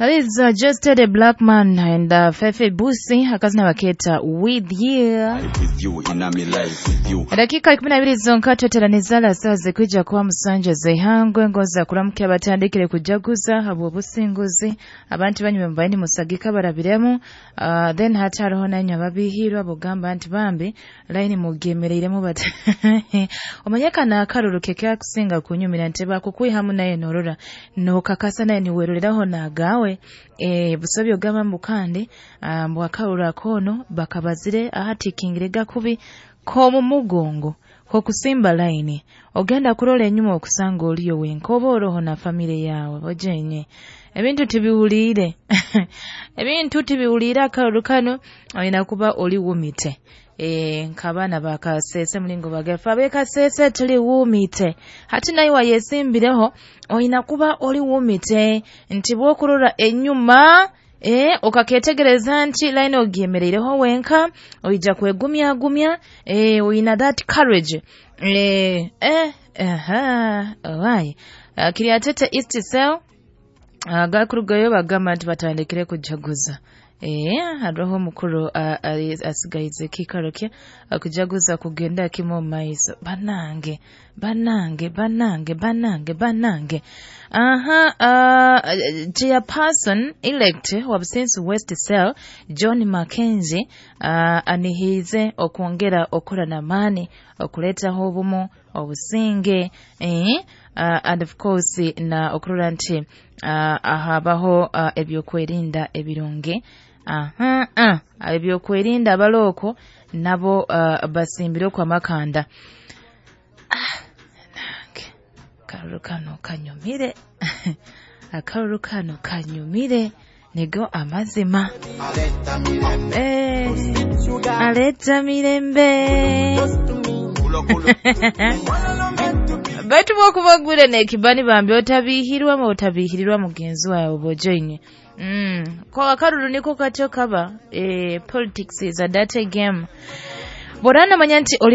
That is just the Black Man and Fefe Busi, akazina baketa "With You". With you in my life with you. Dakika 12 zonka tweteranizala saa zikwija kuba 7 z'eihangwe. Ngoza kuramukya abatandikire kujaguza habwa obusinguzi abantu banyuma mubaini musagika barabiremu. Then hati hariho nanywe ababihirwa bugamba nti bambi layini mugemereiremu bat omanye kana akaruru kekakusinga kunyumira nti bakukwihamu naye norora nokakasa naye niweroreraho nagawe. Busobyo ogamba mbu kandi mbu akaruru akono bakabazire ahatikingire gakubi komu mugongo kokusimba layini, ogenda kurola enyuma okusanga oliyo wenka oba oroho na famire yawe bojenye. Ebintu tibiwuliire, ebintu tibiwuliire. Akaruru kano olina kuba oli wumite, nk'abaana bakasese mulingo bagafa abekasese tuli wumite. Hati naye wayesimbireho olina kuba oli wumite nti bwokurora enyuma, okaketegereza nti line ogyemereireho wenka, oija kwegumyagumya, oyina that courage. Aha, owai Kiryatete East Cell agakurugayo bagamba nti batandikire kujaguza. Hariho omukuru asigaize ekiikaro kye akujaguza kugenda kimu omu maiso. Banange, banange, banange, banange, banange. Aha, chairperson elect wa Businsi West Cell John Mackenzie anihiize okwongera okukora n'amaani okuleetaho obumu, obusinge, and of course na okurora nti habaho ebyokwerinda ebirungi. Aha, ebyokwerinda abalooko nabo basimbire okwo amakanda. Nange akaruru kano kanyumire, akaruru kano kanyumire, nigo amazima. Aleta mirembe. Baitu bwokubagwire nekibani bambi otabihirwa otabihirirwa mugenzi wawe bojoine. Ko akaruru niko katyo kaba. Politics is a dirty game. Borana manya nti oli